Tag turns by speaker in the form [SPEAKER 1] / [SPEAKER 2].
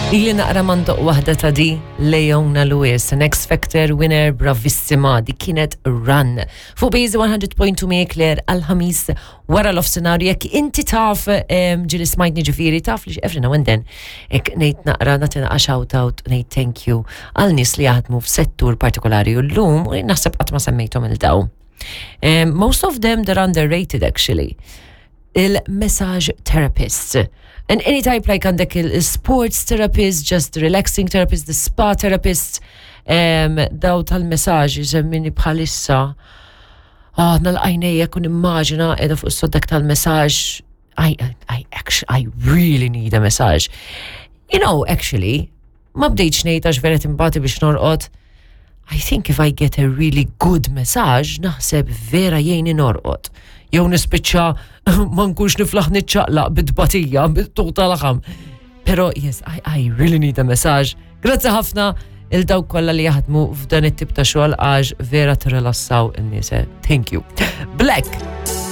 [SPEAKER 1] Ili naqra mandoq waħda ta' di Leona Lewis, an X Factor winner bravissima, di kienet Run. Fuq Bejzi 100.2 mi Claire għal-ħamis wara l-offsenar jekk inti taf ġili smajtni ġifiri taf li every now and then ek nejt naqra nagħti naqra shout out nejt thank you għal nies li jaħdmu f'settur partikolari u llum u naħseb qatt ma semmejthom il-daw. Most of them they're underrated actually. Il-massage therapists. And any type like għandek il-sports therapist, just relaxing therapist, the spa therapist, um, daw tal-messaġ semmini bħalissa. Ah, nal-għajnejja kun immaġina edha fuq s-soddak tal-messaġ. I, I, actually, I really need a massage. You know, actually, ma bdejtx ngħid għax vera timbati biex norqod. I think if I get a really good massage, naħseb vera jgħinni norqod. Jew nispiċċa ma nkunx niflaħ niċċaqlaq bit-tbatija, bit-tuq tal-ħam. Pero yes, I, I really need a massage. Grazzi ħafna il dawk kollha li jaħdmu f'dan it-tip ta' xogħol għax vera tirrilassaw in-nies. Eh. Thank you. Black.